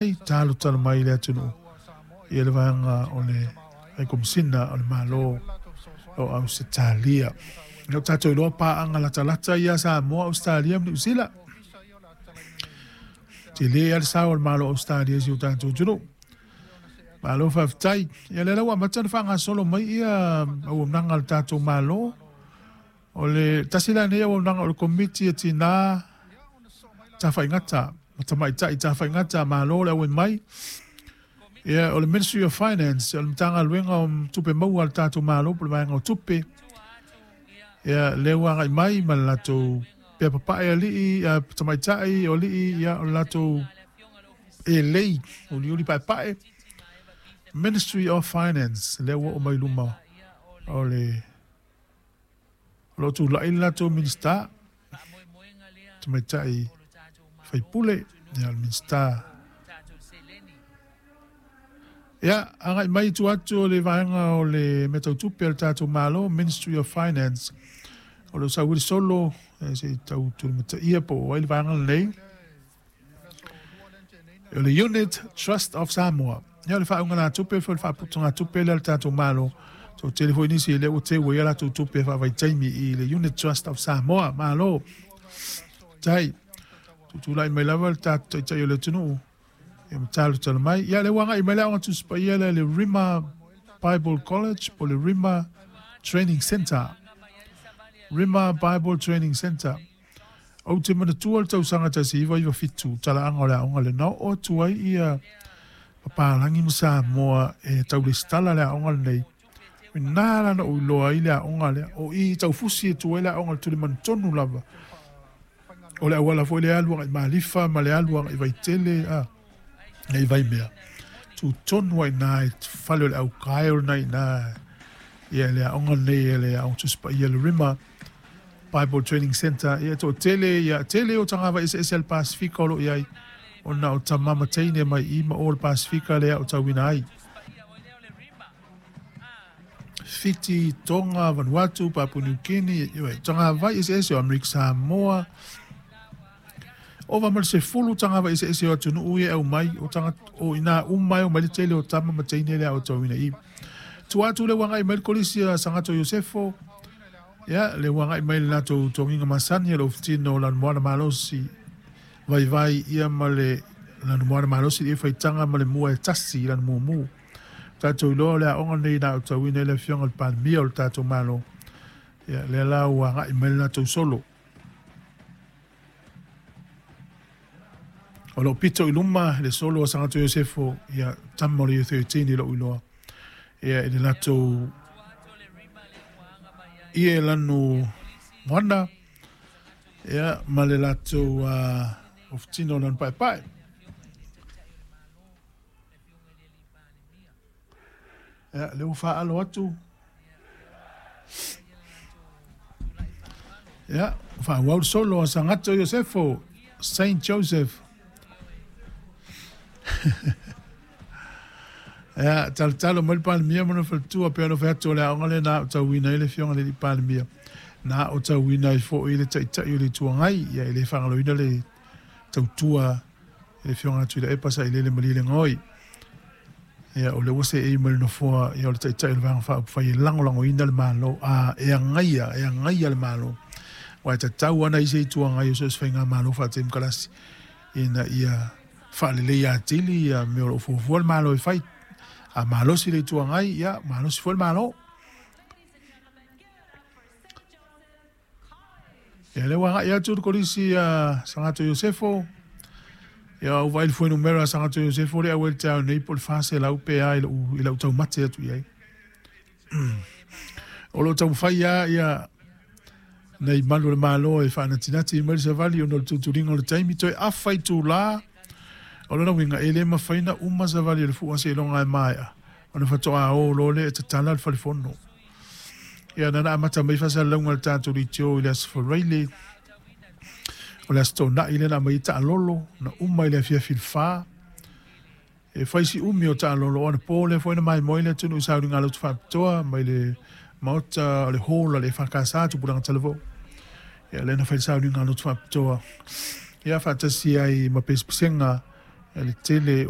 Talotalo mai i le atunuu ia le vaega o le Haikomisina o le Malo o Ausetalia. O lea ua tatou iloa paaga latalata ia a Samoa, Ausetalia ma Niu Sila. Tele lava le sao o le Malo o Ausetalia i si o tatou atunuu. Malo faafetai. Ia lea la ua amata ona faagasolo mai ia auaunaga a le tatou Malo. O le tasi la lenei auaunaga o le Komiti a Tina Tafaigata ma Tamaitai Tafaigata, malo le auai mai. Ia, o le Ministry of Finance, o le Matagaluega o Tupe Maua a le tatou Malo po o le Vaega o Tupe. Ia, lea ua agai mai ma le latou pea papae alii, tamaitai, o alii, ia, o le latou elei, uliuli paepae. Ministry of Finance, lea ua oo mai luma o le o lo o tulai le latou Minisita, Tamaitai Faipule, ia, o le Minisita. Ia, agai mai i tua atu o le vaega o le mea tau tupe a le tatou Malo, Ministry of Finance, o lo o sau ai le solo, se i tau tulimataia po o ai le vaega lenei. O le Unit Trust of Samoa. Ia, o le faaaugalatupe foi, le faaputugatupe lea a le tatou Malo. Toatele foi nisi lea ua teu ai a latou tupe faavaitaimi i le Unit Trust of Samoa. Malo. Tai. Tutulai mai lava le tatou taitai o le atunuu. Ia ma talotalo mai. Ia, lea ua agai mai le Aoga Tusi Paia lea le Rima Bible College po le Rima Training Center. Rima Bible Training Center. Ou te manatua le tausaga 1997, talaaga o le aoga lea, na oo atu ai ia papalagi ma Samoa e tau lesitala le aoga lenei. O i ina la na ou iloa ai le aoga lea. O i i Taufusi e tu ai le aoga i le tulimanu tonu lava. O le auala foi lea e alu agai i Malifa ma le alu agai i Vaitele, a, i Vaimea. Tu tonu lava i ina i fale o le aukae o lena i ina ia le aoga lenei, le Aoga Tusi Paia le Rima Bible Training Center. Ia, e toatele, ia, tele o tagava eseese a le Pasifika o lo o i ai, ona o tama ma teine mai i ma o le Pasifika lea o tauina ai. Fiti, Tonga, Vanuatu, Papua New Guinea, ioe, tagava eseese o Amerika Samoa. Ova ma le 10 tagava eseese o atunuu ia e aumai, o tagata, o ina uma e omai le tele o tama ma teine lea o tauina i. Tua atu le ua agai mai le kolisi a Sagato Iosefo, ia, le ua agai mai le latou togiga masani a le ofutino o Lanumoana Malosi, vaivai ia ma le Lanumoana Malosi i faitaga ma le mua e tasi i lana mumu. Tatou iloa o le aoga lenei na aotauina i le afioga i le Palemia o le tatou Malo. Ia, lea la ua agai mai le latou solo. O lo o pito i luma le solo a Sagato Iosefo, ia, tama o le Year 13 i lou iloa. Ia, i le latou ie lanu moana, ia, ma le latou ofutino o lanu paepae. Ia, lea ua faalo atu. Ia, faaauau le solo a Sagato Iosefo, Saint Joseph. Ia, talotalo mai le Palemia ma lona faletua, pei ona fai atu o le aoga lea na aotauina ai le afioga i le Palemia, na aotauina ai foi le Taitai o le Itu Agai. Ia, e le faagaloina le tautua i le afioga a Tuilaepa Sailele Malielegaoi. Ia, o lea ua seei mai le nofoa, ia, o le Taitai o le Vaega Faaupufai e lagolagoina le Malo, a e agaia, e agaia le Malo. Aua e tatau lava ona i ai se Itu Agai o so o se faigamalo faatemokarasi ina ia faaleleia atili ia mea o lo o fuafua le Malo e fai. A malosi le Itu Agai, ia, malosi foi le Malo. Ia, lea ua agai atu le kolisi a Sagato Iosefo. Ia, ua vaai le fuainumera a Sagato Iosefo lea auai le taeao nei po o le 400 pe a i lau, i lau taumate atu i ai. O lo o taumafai lava ia nei malu o le Malo e faanatinati mai le savali ona o le tutuliga o le taimi. Toe afa itulā, o lona uiga e le mafai ona uma savali o le fua seiloga e maea ona faatoa o loa lea e tatala le falefono. Ia, na amata mai faasalalauga a le tatou leitio i le Aso Faraile, o le Aso Toonai lea na aumai ai taalolo, na uma i le afiafi i le 4. E fai si umi o taalolo, o anapo lea foi na maimoa ai le atunuu i sauniga lotu faapitoa mai le maota o le hall a le EFKS Tupulaga Talavou. Ia, lea na fai le sauniga lotu faapitoa, ia faatasi ai ma pesepesega le tele o